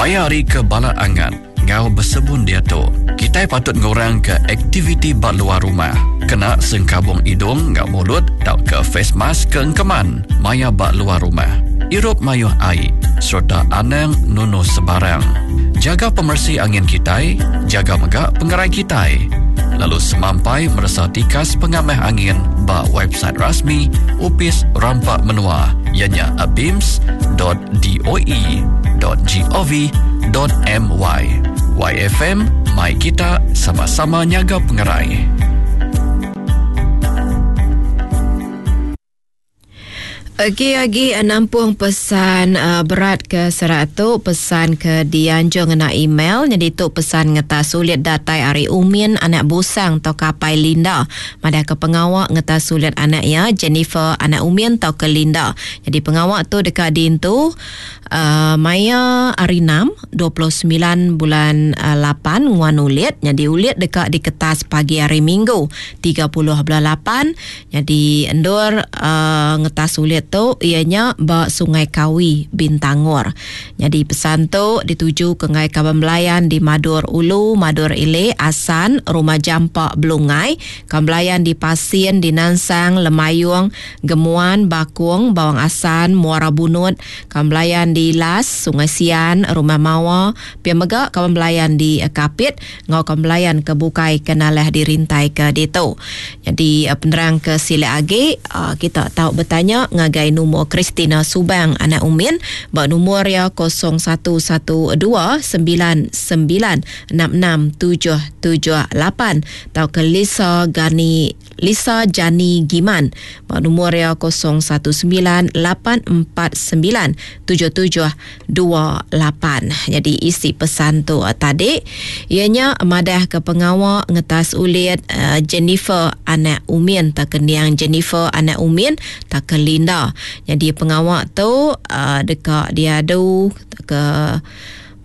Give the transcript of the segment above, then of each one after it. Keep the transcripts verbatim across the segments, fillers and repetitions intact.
Maya hari ke bala angat ngau bersebun dia tu, kita patut ngurang ke aktiviti ba luar rumah. Kena sengkabung hidung ngau mulut tau ke face mask ke engkeman maya ba luar rumah. Irup mayuh air serta anang nunu sebarang. Jaga pemersi angin kitai, jaga megak pengerai kitai. Lalu semampai merasa tikas pengamah angin ba website rasmi Upis Rampak Menua ianya abims dot d o e dot g o v dot m y. Y F M, mai kita sama-sama nyaga pengerai. Agi-agi nampung pesan uh, berat ke seratu pesan ke dianjung ngena email jadi tu pesan ngeta sulit datai ari Umin anak Busang atau kapai Linda madah ke pengawak ngeta sulit anak ya Jennifer anak Umin atau ke Linda. Jadi pengawak tu dekat dintu uh, maya hari enam dua puluh sembilan bulan uh, lapan nguan ulit jadi ulit dekat di kertas pagi hari Minggu tiga puluh bulan lapan jadi endur uh, ngetas ulit tu ianya ba Sungai Kawi Bintangor. Jadi pesan tu dituju ke ngai kaban belayan di Madur Ulu, Madur Ile, Asan, Rumah Jampak Belungai, kaban belayan di Pasien, di Nansang, Lemayung, Gemuan, Bakung, Bawang Asan, Muara Bunut, kaban belayan di Las, Sungai Sian, Rumah Mawa, pia mega kaban belayan di Kapit, ngau kaban belayan ke Bukai kenalah dirintai ke ditu. Jadi penerang ke sila agi kita tahu bertanya ngagai nombor Christina Subang anak Umin ba nombor ya kosong satu satu dua sembilan sembilan enam enam tujuh tujuh lapan atau ke Lisa Gani Lisa Jani Giman ba nombor ya kosong satu sembilan lapan empat sembilan tujuh tujuh dua lapan. Jadi isi pesan tu uh, tadi ianya madah ke pengawak ngetas ulit uh, Jennifer anak Umin tak keniang Jennifer anak Umin tak ke Linda. Jadi pengawak tu uh, dekat diadu ke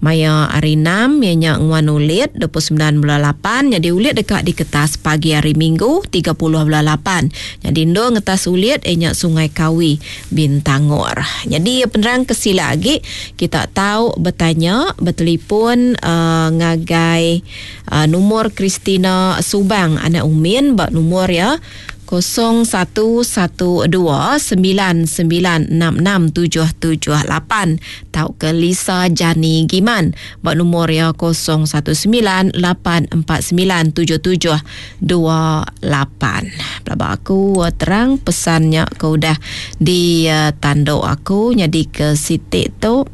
maya hari enam ianya nguan ulit dua puluh sembilan bulan lapan jadi ulit dekat di kertas pagi hari Minggu tiga puluh bulan lapan. Jadi ndo ngetas ulit ianya Sungai Kawi Bintangor. Jadi penerang kesila lagi kita tahu bertanya bertelefon uh, ngagai uh, nomor Christina Subang anak Umin bak nomor ya kosong satu satu dua sembilan sembilan enam enam tujuh tujuh lapan tau ke Lisa Jani Giman bak nombor ya kosong satu sembilan lapan empat sembilan tujuh tujuh dua lapan. Pelaba aku terang pesannya ke udah di uh, tanduk aku jadi ke sitik tu.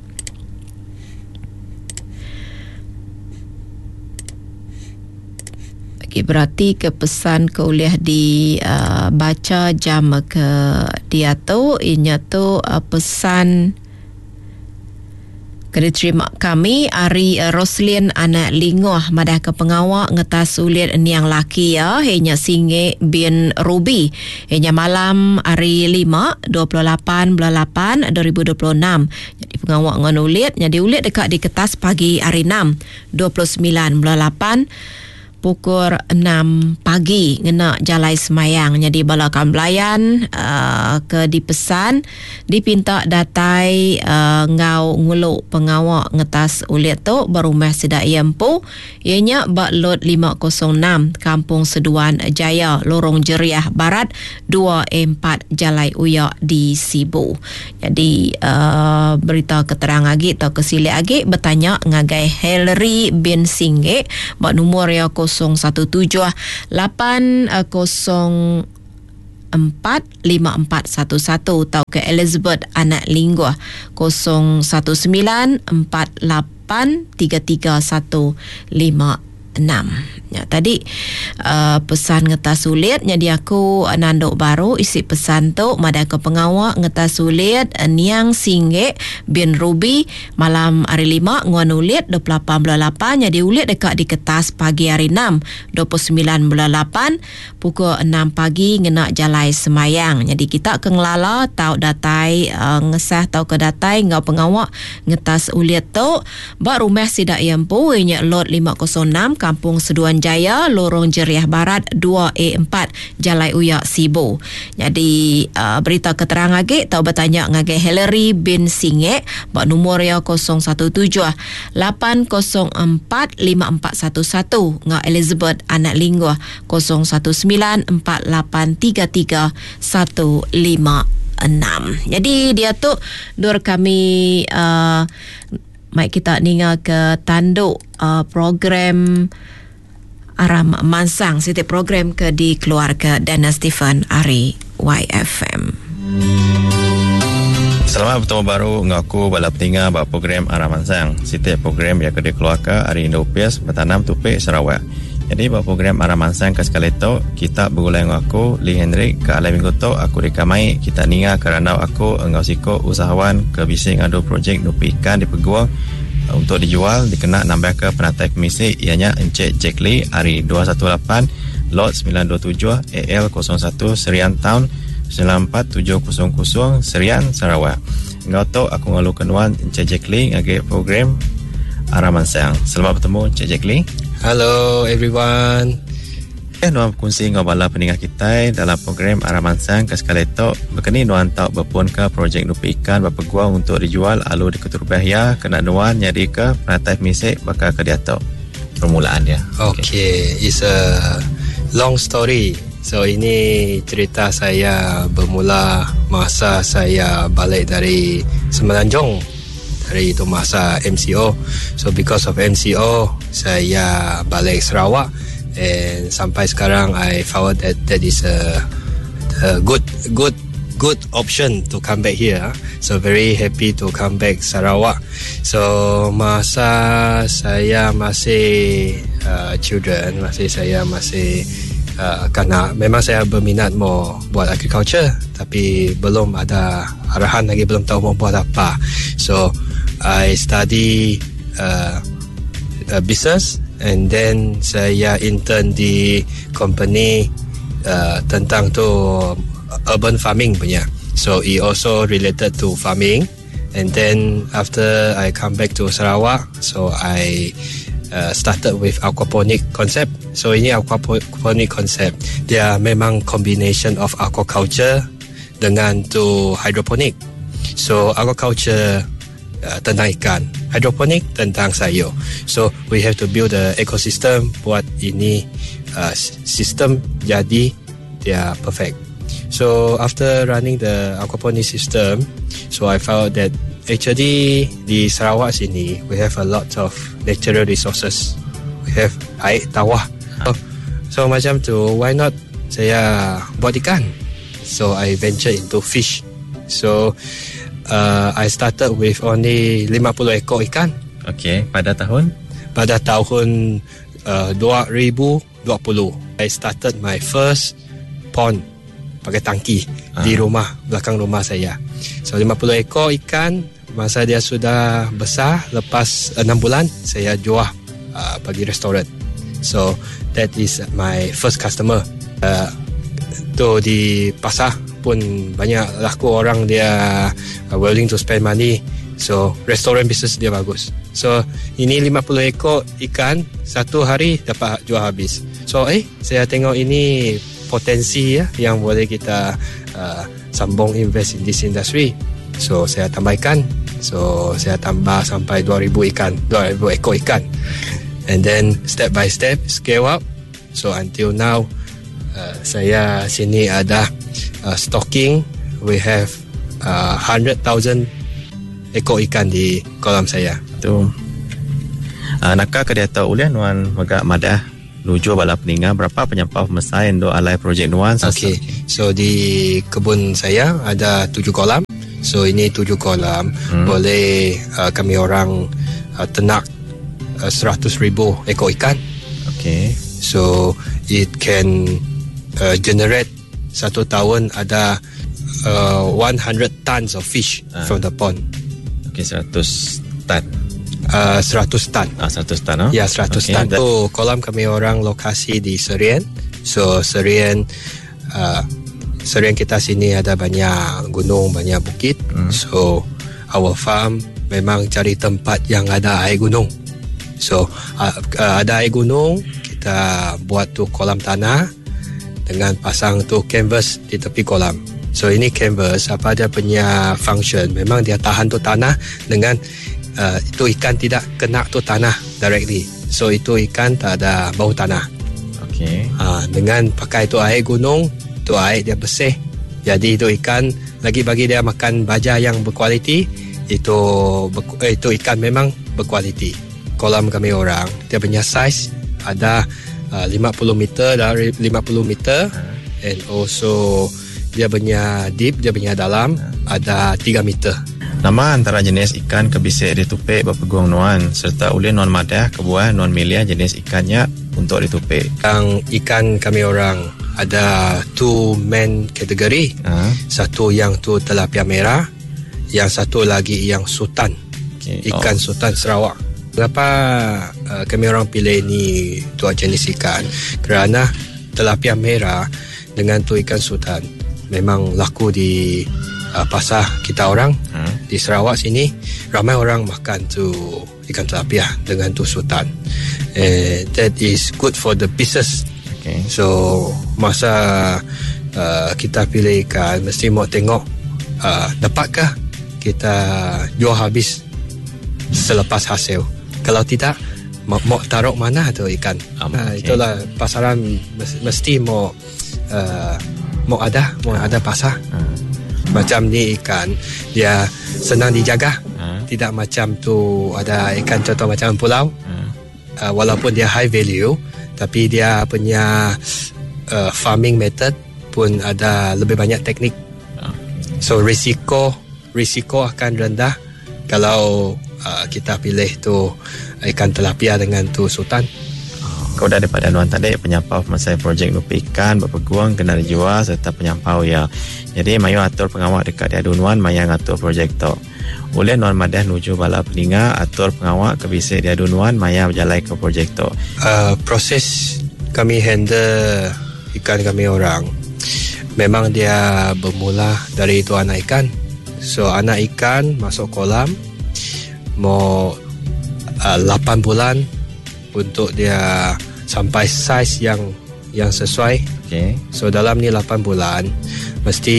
Okay, berarti ke pesan ke oleh di uh, baca jam ke dia tu inya tu uh, pesan kena terima kami ari uh, Roslin anak Lingoh madah ke pengawak ngetas ulit niang laki ya inya Singe bin Ruby inya malam hari lima dua puluh lapan bulan lapan dua ribu dua puluh enam. Jadi pengawak ngon ulit jadi ulit dekat di kertas pagi hari enam dua puluh sembilan bulan lapan pukul enam pagi ngena jalai semayang. Jadi bala kamblayan uh, ke dipesan dipinta datai uh, ngau nguluk pengawak ngetas ulit tu berumah sedak iempu ianya bak lot lima kosong enam Kampung Seduan Jaya Lorong Jeriah Barat dua empat Jalai Uyak di Sibu. Jadi uh, berita keterang agi atau kesilik agi bertanya ngagai Hillary bin Singgek bak nombor ya kosong satu tujuh lapan kosong empat lima empat satu satu atau ke Elizabeth anak Lingguah kosong satu sembilan empat lapan tiga tiga satu lima enam. Ya, tadi uh, pesan ngetas sulit jadi aku uh, nanduk baru isi pesan tu madah ke pengawak ngetas sulit uh, niang Singgek bin Ruby malam hari lima nguan ulit dua puluh lapan bulan lapan jadi ulit dekat di kertas pagi hari enam dua puluh sembilan bulan lapan pukul enam pagi ngena jalai semayang. Jadi kita ke ngelala tau datai uh, ngesah tau ke datai ngau pengawak ngetas ulit tu ba rumah sidak iempu inya lot lima kosong enam Kampung Seduan Jaya, Lorong Jeriah Barat dua A empat, Jalai Uyak, Sibu. Jadi uh, berita keterang agi tau bertanya ngagai Hillary bin Singek ba nomor ya kosong satu tujuh lapan kosong empat lima empat satu satu ngau Elizabeth Anak Lingguh kosong satu sembilan empat lapan tiga tiga satu lima enam. Jadi dia tu dur kami uh, mai kita ninga ke tanduk uh, program Aram Mansang, siti program ke dikeluarga Dana Stephen ari Y F M. Selamat bertemu baru dengan aku bala peninga bak program Aram Mansang. Siti program yang ke dikeluarga ari Indopias bertanam tupik Sarawak. Jadi bak program Aram Mansang ke sekali tu kita bergulai dengan aku Lee Henry ke alai minggu tu aku dikamai kita ninga kerana aku engau siko usahawan ke bisi ngadu projek nupi ikan di Peguang untuk dijual dikena nambah ke penatai komisi ianya Encik Jack Lee hari dua satu lapan lot sembilan dua tujuh A L kosong satu Serian Town sembilan empat tujuh kosong kosong Serian Sarawak. Engau tu aku ngalu kenuan Encik Jack Lee ngagi program Aram Mansang. Selamat bertemu Encik Jack Lee. Hello everyone. Eh, nuan berkongsi dengan bala peningah kita dalam program Aram Mansang ke sekali tu berkeni nuan tau berpun ke projek nupi ikan berpeguang untuk dijual alu di Keturbah ya kena nuan nyadi ke penatai misik bakal ke dia tu permulaan dia. Okay. Okay, it's a long story. So ini cerita saya bermula masa saya balik dari Semenanjung, dari itu masa M C O. So because of M C O saya balik Sarawak. And sampai sekarang I found that that is a, a good, good, good option to come back here. So very happy to come back Sarawak. So masa saya masih, uh, children, masih saya masih, uh, kanak, memang saya berminat mau buat agriculture, tapi belum ada arahan lagi, belum tahu mau buat apa. So I study, uh, uh, business. And then saya intern di company, uh, tentang tu urban farming punya. So it also related to farming. And then after I come back to Sarawak, so I, uh, started with aquaponic concept. So ini aquaponic concept, dia memang combination of aquaculture dengan tu hydroponic. So aquaculture, uh, tentang ikan, hydroponic tentang sayur. So we have to build the ecosystem buat ini, uh, sistem jadi dia perfect. So after running the aquaponic system, so I found that actually di Sarawak sini we have a lot of natural resources. We have air tawar. So, so macam tu, why not saya buat ikan? So I venture into fish. So, uh, I started with only lima puluh ekor ikan. Okey, pada tahun? Pada tahun, uh, dua ribu dua puluh. I started my first pond pakai tangki Ah. di rumah, belakang rumah saya. So lima puluh ekor ikan, masa dia sudah besar, lepas enam bulan saya jual, uh, bagi restoran. So that is my first customer. Uh, tu di pasar pun banyak laku orang dia, uh, willing to spend money. So restoran business dia bagus. So ini lima puluh ekor ikan satu hari dapat jual habis. So, eh, saya tengok ini potensi ya yang boleh kita, uh, sambung invest in this industry. So saya tambah ikan. So saya tambah sampai dua ribu ikan, dua ribu ekor ikan. And then step by step scale up. So until now, uh, saya sini ada, uh, stocking. We have, uh, hundred thousand ekor ikan di kolam saya. Tu. Uh, nakal ke dia tahu ulian nuan megak madah nuju bala peninga berapa penyampau mesai endo alai projek nuan sasa. Okey. So di kebun saya ada tujuh kolam. So ini tujuh kolam. Hmm. Boleh, uh, kami orang, uh, ternak, uh, seratus ribu ekor ikan. Okey. So it can, uh, generate satu tahun ada, uh, one hundred tons of fish Ah. from the pond. Okey, seratus tan. Uh, seratus tan. Ah, seratus tan, oh? Ya, seratus Okey, tan. that So, kolam kami orang lokasi di Serian. So, Serian, uh, Serian kita sini ada banyak gunung, banyak bukit. Hmm. So, our farm memang cari tempat yang ada air gunung. So uh, uh, ada air gunung, kita buat tu kolam tanah dengan pasang tu canvas di tepi kolam. So ini canvas apa dia punya function, memang dia tahan tu tanah dengan uh, itu ikan tidak kena tu tanah directly. So itu ikan tak ada bau tanah. Okey. Ha, dengan pakai tu air gunung, tu air dia bersih. Jadi itu ikan lagi bagi dia makan baja yang berkualiti, itu eh, itu ikan memang berkualiti. Kolam kami orang, dia punya size ada uh, lima puluh meter dari lima puluh meter, and also dia punya deep, dia punya dalam ada tiga meter. Nama antara jenis ikan ke bisik ditupik berpeguang nuan serta oleh nuan madah kebuah nuan milia jenis ikannya untuk ditupik. Yang ikan kami orang ada two main kategori. Ha? Satu yang tu tilapia merah, yang satu lagi yang sultan. Okey. Ikan Oh. sultan Sarawak. Kenapa uh, kami orang pilih ni dua jenis ikan? Kerana tilapia merah dengan tu ikan sultan memang laku di uh, pasar kita orang. Hmm. Di Sarawak sini ramai orang makan tu ikan tilapia dengan tu sultan. Eh, that is good for the business. Okey. So masa uh, kita pilih ikan mesti mau tengok, uh, dapatkah kita jual habis selepas hasil. Kalau tidak, mau, mau taruh mana tu ikan? Um, Ah, okey. Itulah pasaran mes-, mesti mau, uh, mau ada, mau ada pasar. Ah. Macam ni ikan dia senang dijaga. Ah. Tidak macam tu ada ikan contoh macam pulau. Ah. Uh, walaupun dia high value, tapi dia punya, uh, farming method pun ada lebih banyak teknik. Ah. So risiko, risiko akan rendah kalau, uh, kita pilih tu ikan tilapia dengan tu sultan. Kau dah daripada nuan tadi penyampau masa projek nupi ikan berpeguang kena dijual serta penyampau ya. Jadi mayu atur pengawak dekat dia nuan maya ngatur projek tu. Oleh nuan madah nuju bala peninga atur pengawak ke bisa dia nuan maya berjalan ke projek tu. Uh, proses kami handle ikan kami orang memang dia bermula dari itu anak ikan. So anak ikan masuk kolam mau, uh, lapan bulan untuk dia sampai saiz yang, yang sesuai. Okey. So dalam ni lapan bulan mesti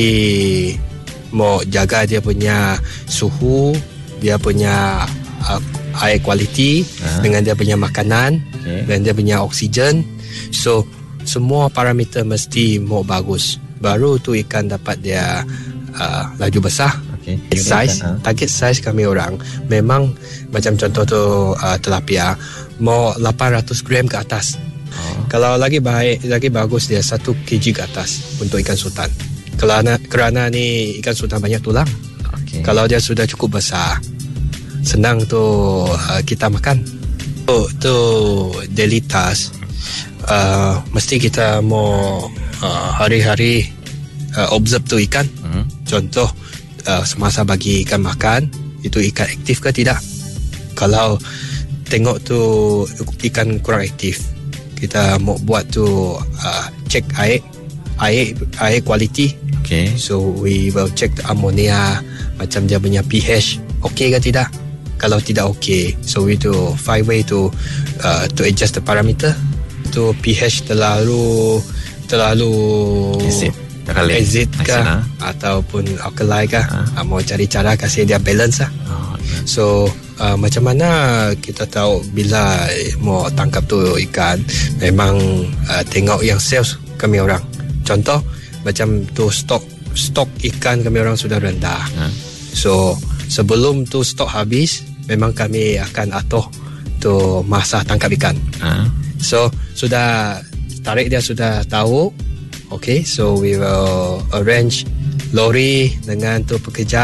mau jaga dia punya suhu, dia punya, uh, air kualiti, Ha. dengan dia punya makanan, Okey. dan dia punya oksigen. So semua parameter mesti mau bagus. Baru tu ikan dapat dia, uh, laju besar. Okey. Size, Ha. target size kami orang memang macam contoh tu, uh, tilapia mau lapan ratus gram ke atas. Oh. Kalau lagi baik, lagi bagus dia satu kilogram ke atas untuk ikan sultan. Kerana, kerana ni ikan sultan banyak tulang. Okey. Kalau dia sudah cukup besar, senang tu, uh, kita makan. Tu, tu daily task. Uh, mesti kita mau, uh, hari-hari, uh, observe tu ikan. Hmm. Contoh, uh, semasa bagi ikan makan, itu ikan aktif ke tidak? Kalau tengok tu ikan kurang aktif, kita mau buat tu, uh, check air, air, air kualiti. Okey. So we will check the ammonia, macam dia punya pH okey ke tidak. Kalau tidak okey, so we do five way to, uh, to adjust the parameter. Tu pH terlalu, terlalu Acid. Terlalu acid ke, acid, ha? ataupun alkali ke, Ha. ha, mau cari cara kasih dia balance lah. Oh, ya. So, uh, macam mana kita tahu bila mau tangkap tu ikan, memang, uh, tengok yang sales kami orang. Contoh macam tu stok, stok ikan kami orang sudah rendah. Ha. So sebelum tu stok habis, memang kami akan atur tu masa tangkap ikan. Ha. So sudah tarik dia sudah tahu. Okay, so we will arrange lori dengan tu pekerja